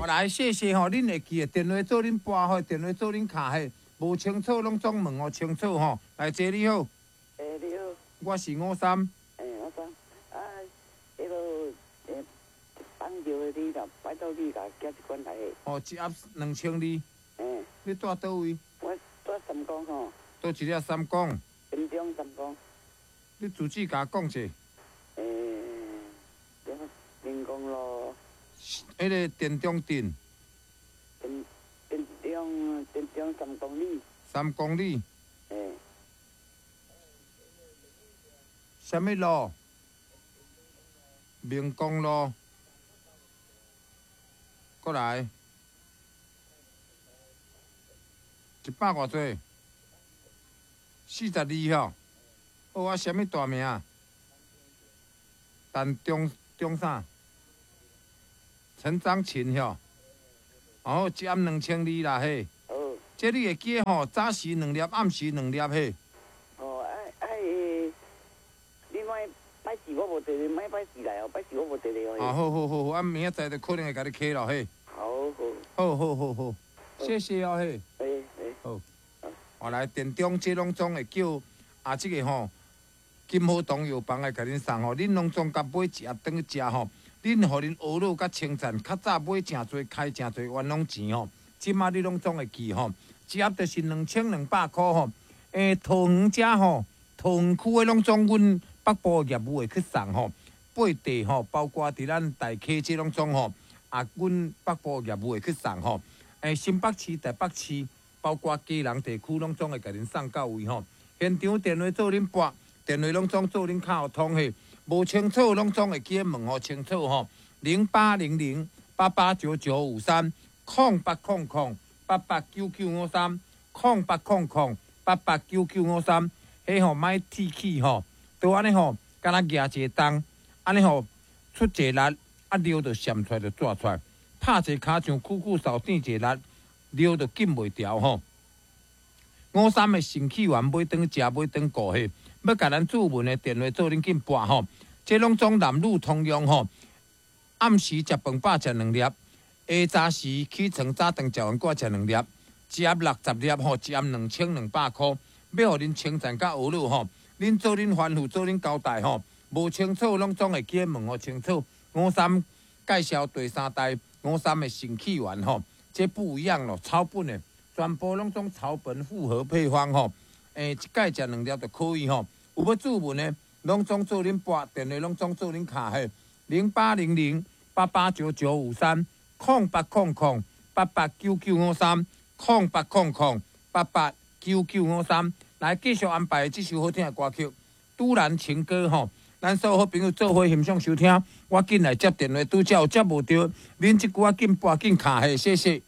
來，謝謝吼，恁會記得電話做恁撥吼，電話做恁敲嘿，無清楚攏總問予清楚吼。來，姐你好。欸，你好。我是五三。欸，五三，啊，彼個欸，放尿的你若拜託你共寄一罐來。哦，一盒2200。欸。你住佗位？我住三光吼。佗一粒三光？田中三光。你住址共講者。欸，民光路。彼个田中鎮。田中3公里。3公里。欸。啥物路？明光路。閣來。一百偌濟？42吼。好啊，啥物大名？陳中中啥？陳章琴吼。哦，一盒2200啦嘿。好。這你會記吼？早時兩粒，暗時兩粒嘿。哦，啊啊欸，你莫拜四我無佇咧，莫拜四來哦，拜四我無佇咧哦。啊，好好好好，啊明仔載就可能會共你敲咯嘿。好好。好好好好，謝謝哦嘿。欸欸。好。哦，來田中這攏總會叫啊，這个吼金好堂藥房來共恁送吼，恁攏總共買一盒轉去食吼，恁予恁懊惱佮稱讚，較早買誠濟開誠濟冤枉錢吼，這馬你攏總會記吼，一盒就是2200箍吼。欸，桃園遮吼，桃園區的攏總阮北部業務會去送吼，八地吼，包括佇咱大溪這攏總吼，啊，阮北部業務會去送吼。欸，新北市、台北市，包括基隆地區，攏總會共恁送到位吼。現場電話做恁撥，電話攏總做恁敲通嘿，無清楚攏總會記問予清楚吼。0800889953，0800889953，0800889953，彼吼莫鐵齒吼，都按呢吼，敢若舉一个重，按呢吼出一个力，啊尿就閃出來就紙出來，拍一个跤像久久掃轉一个力，尿就禁袂牢吼。五三的腎氣丸買轉食，買轉顧嘿，欲共咱注文的電話做恁緊撥吼，這攏總男女通用吼。暗時食飯飽食兩粒，下早時起床早頓食完閣食兩粒，一盒60粒吼，一盒2200箍，欲予恁稱讚佮懊惱吼，恁做恁吩咐做恁交代吼，無清楚攏總會記問予清楚。五三介紹第三代五三的腎氣丸吼，這不一樣咯，草本的。全部攏總草本複合配方吼，欸，一擺食兩粒就可以吼。有欲注文的，攏總做恁撥電話，攏總做恁敲嘿，0800889953，0800889953，0800889953。來繼續安排這首好聽的歌曲《都蘭情歌》吼。咱所有好朋友做伙欣賞收聽，我緊來接電話，拄才有接無著，恁這久仔緊撥緊敲嘿，謝謝。